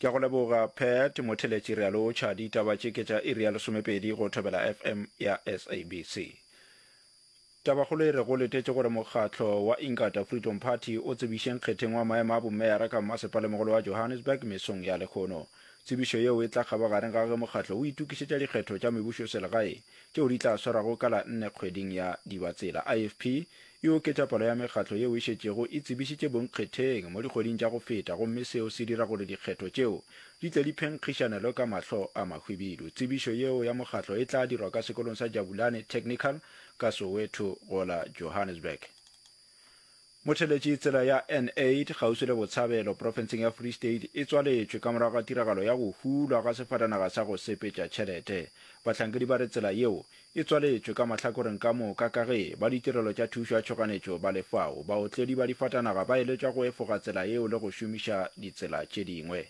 Ke a go leboga Pat Motheletši re a lotšha. Ditaba tše ke tša iri ya lesomepedi go Thobela FM ya SABC. Tabakgolo e re go letetše gore mokgatlo wa Inkatha Freedom Party o tsebiše nkgetheng wa maemo a bomeyara ka mmasepalemogolo wa Johannesburg mesong ya lehono. Tsebišo yeo e tla kgabagareng ga ge mokgatlo o itokišetša dikgetho tša mebušoselegae tšeo di tla swarwago ka la nne kgweding ya Dibatsela. IFP e oketša palo ya mekgatlo yeo e šetšego e tsebišitše bonkgetheng mo dikgweding tša go feta gomme seo se dira gore dikgetho tšeo di tle di phenkgišanelwe ka mahlo a mahwibidu. Tsebišo yeo ya mokgatlo e tla dirwa ka sekolong sa Jabulani Technical ka Soweto go la Johannesburg. Motheletši tsela ya N8 kgauswi le Botshabelo profenseng ya Free State e tswaletšwe ka morago ga tiragalo ya go hulwa ga sefatanaga sa go sepetša tšhelete. Bahlankedi ba re tsela yeo e tswaletšwe ka mahlakoreng ka moka ka ge ba ditirelo tša thušo ya tšhoganetšo ba le fao. Baotledi ba difatanaga ba eletšwa go efoga tsela yeo le go šomiša ditsela tše dingwe.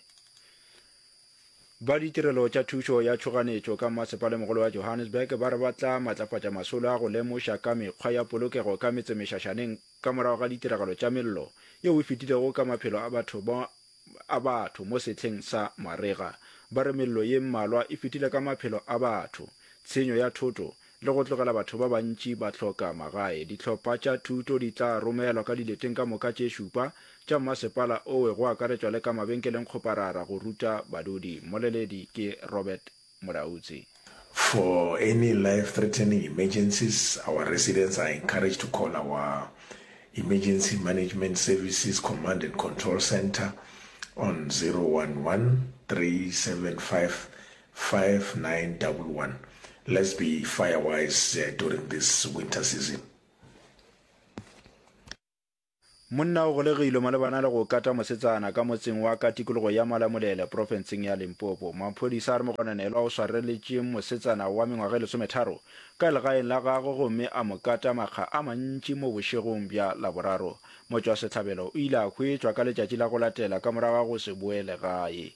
Ba ditirelo tša thušo ya tšhoganetšo ka mmasepalemogolo wa Johannesburg ba re ba tla matlafatša masolo a go lemoša ka mekgwa ya polokego ka metsemešašaneng ka morago ga ditiragalo tša mello yeo e fetilego ka maphelo a batho ba a batho mo sehleng sa marega. Ba re mello ye mmalwa e fetile ka maphelo a batho, tshenyo ya thoto le go tlogela batho ba bantši ba hloka magae. Dihlopha tša thuto di tla romelwa ka dileteng ka moka tše šupa tša mmasepala owe go akaretšwa le ka mabenkeleng kgoparara go ruta badudi. Mmoleledi ke Robert Molaudzi. For any life-threatening emergencies, our residents are encouraged to call our Emergency Management Services Command and Control Centre on 011 375 5911. Let's be firewise during this winter season. Monna o golegilwe malebana le go kata mosetsana ka motseng wa ka tikologo ya Malamulele profenseng ya Limpopo. Maphodisa a re mogononelwa o swareletše mosetsana wa mengwaga e lesometharo ka legaeng la gagwe gomme a mo kata makga a mantši mo bošegong bja Laboraro. Motšwasehlabelo o ile a hwetšwa ka letšatši la go latela ka morago ga go se boele gae.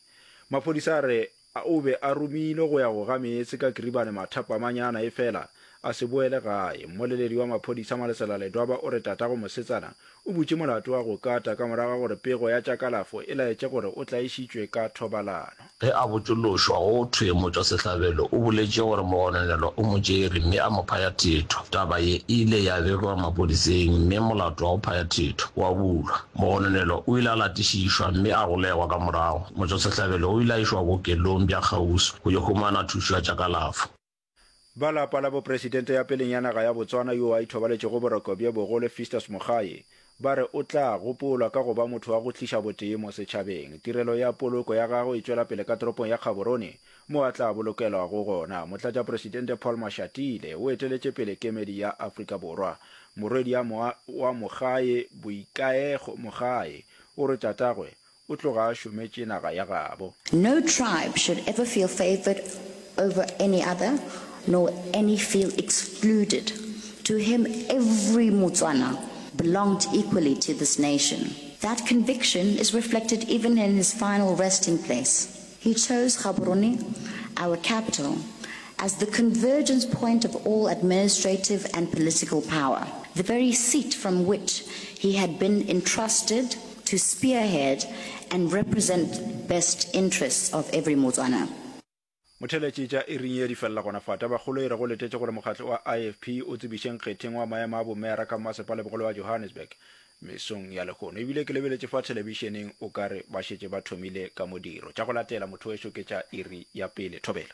Maphodisa a re o be a romilwe go ya go ga meetse ka Kiribane mathapamanyana efela a se boele gae. Mmoleledi wa maphodisa Malesela Ledwaba o re tatago mosetsana o butše molato wa go kata ka morago ga gore pego ya tša kalafo e laetše gore o tlaišitšwe ka thobalano. Ge a botšološwa go thwe motšwasehlabelo o boletše gore mogononelwa o mo tšere mme a mo phaya thetho. Taba ye e ile ya begwa maphodiseng mme molato wa go phaya thetho wa bulwa. Mogononelwa o ile a latišišwa mme a golegwa ka morago. Motšwasehlabelo o ile a išwa bookelong bja kgauswi go yo humana thušo ya tša kalafo. Ba lapa la bopresidente ya peleng ya naga ya Botswana yo a ithobaletšego boroko bjo bogolo Festus Mogae ba re o tla gopolwa ka go ba motho wa go tliša botee mo setšhabeng. Tirelo ya poloko ya gagwe e tšwela pele ka toropong ya Gaborone mo a tla bolokelwago gona. Motlatšapresidente Paul Mashatile o eteletše pele kemedi ya Afrika Borwa. Morwedi wa Mogae, Boikaego Mogae, o re tatagwe o tloga a šometše naga ya gabo. No tribe should ever feel favoured over any other, nor any feel excluded. To him every Motswana belonged equally to this nation. That conviction is reflected even in his final resting place. He chose Gaborone, our capital, as the convergence point of all administrative and political power, the very seat from which he had been entrusted to spearhead and represent best interests of every Motswana. Motheeletši tša iring ye di felela gona fa. Tabakgolo e re go letetše gore mokgatlo wa IFP o tsebiše nkgetheng wa maemo a bomeyara ka mmasepalabogolo wa Johannesburg mesong ya lehono. Ebile ke lebeletše fa thelebišeneng o ka re ba šetše ba thomile ka modiro. Tša go latela motho wešo ke tša iri ya pele. Thobela.